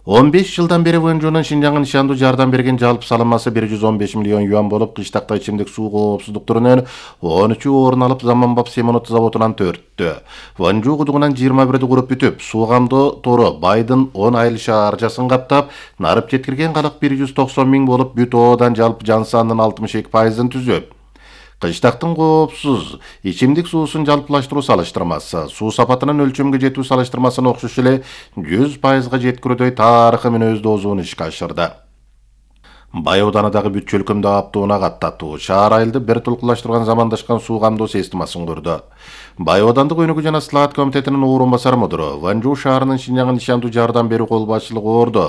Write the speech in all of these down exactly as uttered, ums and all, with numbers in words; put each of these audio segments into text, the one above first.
он беш жылдан бери Вэнжунун Шинжаңга нишандуу жардам берген жалпы салымасы бир жүз он беш миллион юан болуп, кыштакта ичимдик суу коопсуздук түрүнөн он үчү орун алып, Заманбап Семенот заводунан төрттү. Вэнжу кудугунан жыйырма бирди куруп бүтүп, суу камдоо тору Байдын он айыл шаарчасын каптап, нарып жеткирген калык бир жүз токсон миң болуп, бүт оодан жалпы жан санынын алтымыш эки пайызын түзөт. Кыштактын коопсуз ичимдик суусун жалпылаштыруу салыштырмасы, суу сапатынын өлчөмгө жетүү салыштырмасына окшош эле жүз пайызга жеткирүүдөй тарыхы менен өз доозун ишке ашырды. Бай Ауданындагы бүт чөлкөмдө аптууна каттатуу, шаар айылды бир тулкулаштырган замандашкан суу камдоо системасын курду. Бай Аудандык өнүгүү жана слаат комитетинин орун басар мудуру, Вэнжу шаарынын Шинжаңга нишандуу жардам берүү кол башчылыгы орду.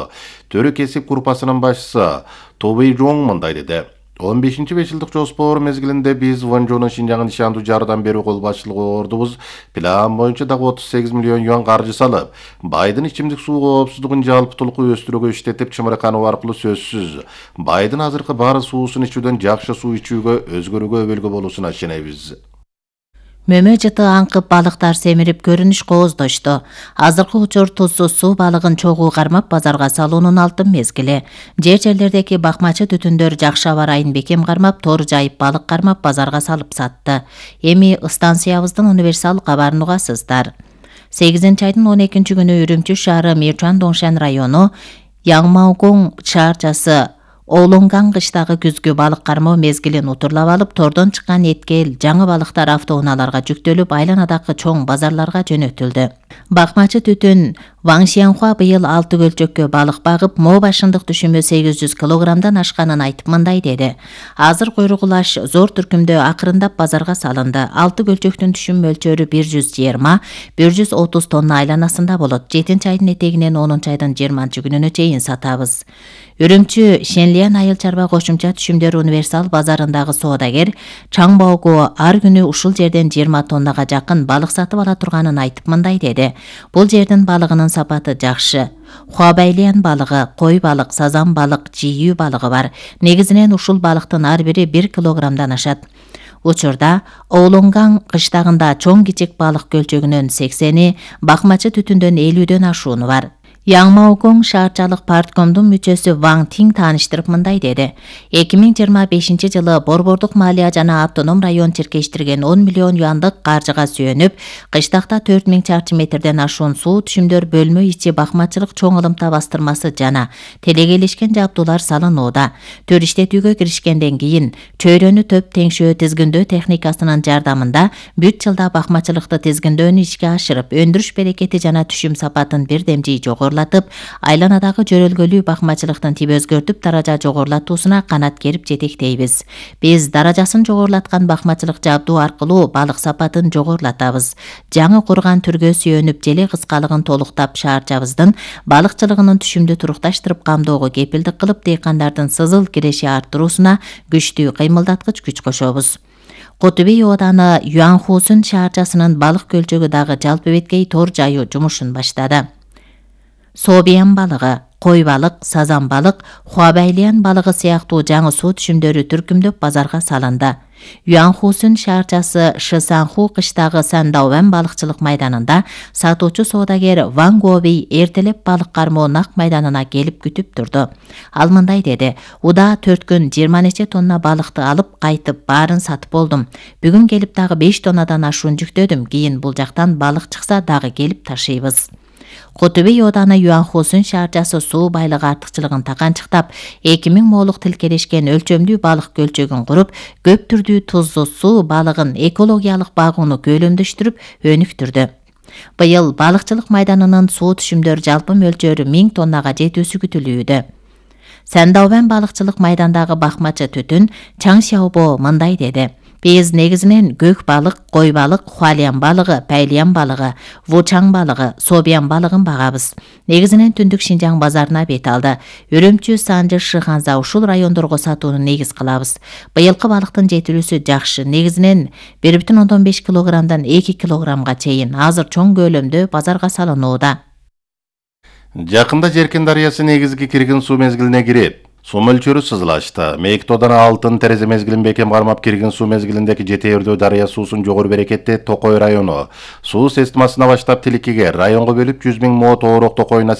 Төрү кесип группасынын башчысы Тобей Жоң мындай деди. он бешинчи беш жылдык жоспор мезгилинде биз Вэнжунун Шинжаңга нишандуу жардам берүү кол башчылыгы ордубуз план боюнча дагы отуз сегиз миллион юан каржы салып, Байдын ичимдик суу коопсуздугун жалпытуулук өстүрүүгө иштетип чымыркануу аркылуу сөзсүз Байдын азыркы баары суусун ичүүдөн жакшы суу ичүүгө, өзгөрүүгө өбөлгө болуусуна ишенебиз. Мөмө жыты аңкып балыктар семирип көрүнүш кооздошту. Азыркы учур тузсуз суу балыгын чогуу кармап базарга салуунун алтын мезгили. Жер жерлердеги бакмачы түтүндөр жакшы аба ырайын бекем кармап, тор жайып балык кармап базарга салып сатты. Эми станциябыздын универсал кабарын угасыздар. сегизинчи айдын он экинчи күнү Үрүмчү шаары Мирчан Доңшен району Яңмаукоң шаарчасы Оолонган кыштагы күзгү балык кармоо мезгилин утурлап алып, тордон чыккан эткел, жаңы балыктар автоунааларга жүктөлүп, айланадагы чоң базарларга жөнөтүлдү. Бакмачы түтүн Ваң Шиянхуа быйыл алты көлчөккө балык багып, мо башындык түшүмү сегиз жүз килограммдан ашканын айтып мындай деди. Азыр куйругулаш зор түркүмдө акырындап базарга салынды. алты көлчөктүн түшүм мөлчөрү бир жүз жыйырма — бир жүз отуз тонна айланасында болот. жетинчи айдын этегинен онунчу айдын жыйырманчы күнүнө чейин сатабыз. Үрүмчү Шенлиан айыл чарба кошумча түшүмдөр универсал базарындагы соодагер Чаң Баого ар күнү ушул жерден жыйырма тоннага жакын балык сатып ала турганын айтып мындай деди. Бул жердин балыгынын сапаты жакшы. Хуабайлиан балыгы, кой балык, сазан балык, жийүү балыгы бар. Негизинен ушул балыктын ар бири бир килограммдан ашат. Учурда Оолонган кыштагында чоң кичик балык көлчөгүнөн сексени, бакмачы түтүндөн элүүдөн ашууну бар. Яңмаукоң шаарчалык парткомдун мүчөсү Ваң Тиң тааныштырып мындай деди. эки миң жыйырма бешинчи жылы Борбордук малия жана автоном район чиркештирген он миллион юандык каржыга сүйөнүп, кыштакта төрт миң чарчы метрден ашуун суу түшүмдөр бөлмө ичи бакмачылык чоң ылымта бастырмасы жана телегелешкен жабдуулар салынууда. Төр иштетүүгө киришкенден кийин чөйрөнү төп теңшөө тизгиндөө техникасынын жардамында бүт жылда бакмачылыкты тизгиндөөнү ишке ашырып, өндүрүш берекети жана түшүм сапатын бирдемжий жогорулатып, айланадагы жөрөлгөлүү бакмачылыктын тип өзгөртүп, даража жогорулатуусуна канат керип жетектейбиз. Биз даражасын жогорулаткан бакмачылык жабдуу аркылуу балык сапатын жогорулатабыз. Жаңы курган түргө сүйөнүп, желе кыскалыгын толуктап, шаарчабыздын балыкчылыгынын түшүмдү турукташтырып камдоого кепилдик кылып, дыйкандардын сызыл киреши арттыруусуна күчтүү кыймылдаткыч күч кошобуз. Котубей Ооданы Юанхусун шаарчасынын балык көлчөгү дагы жалпы беткей тор жайуу жумушун баштады. Собиян балыгы, кой балык, сазан балык, Хуабайлиан балыгы сыяктуу жаңы суу түшүмдөрү түркүмдөп базарга салынды. Юанхусун шаарчасы Шысанху кыштагы Сандаовен балыкчылык майданында сатуучу соодагер Ван Гуобей эртелеп балык кармоо нак майданына келип күтүп турду. Ал мындай деди: "Уда төрт күн жыйырма нече тонна балыкты алып кайтып баарын сатып болдум. Бүгүн келип дагы беш тоннадан ашуун жүктөдүм. Кийин бул жактан балык чыкса дагы келип ташыйбыз." Котубей Ооданы Юанхусун шаарчасы суу байлыгы артыкчылыгын таканчыктап, эки миң молук тилкелешкен өлчөмдүү балык көлчөгүн куруп, көп түрдүү тузсуз суу балыгын экологиялык багууну көйлөмдөштүрүп өнүктүрдү. Быйыл балыкчылык майданынын суу түшүмдөр жалпы мөлчөрү миң тоннага жетүүсү күтүлүүдө. Сандаовен балыкчылык майдандагы бакмачы түтүн Чаң Шаобо мындай деди: "Биз негизинен көк балык, кой балык, Хуалиан балыгы, Пайлиан балыгы, Вучаң балыгы, Собиян балыгын багабыз. Негизинен түндүк Шинжаң базарына бет алды. Үрүмчү, Санжы, Шыханза ушул райондорго сатууну негиз кылабыз. Быйылкы балыктын жетилүүсү жакшы. Негизинен бир бүтүн ондон беш килограммдан эки килограммга чейин азыр чоң көлөмдө базарга салынууда." Жакында Жеркен дарыясы негизги кирген суу мезгилине кирип, суу мөлчөрү сызылашты. Мейктоодон алтын терезе мезгилин бекем кармап кирген суу мезгилиндеги Жети-Өрдө дарыя суусун жогору берекетти Токой району. Суу системасына баштап Тиликиге районго бөлүп жүз миң мо тоорок токойуна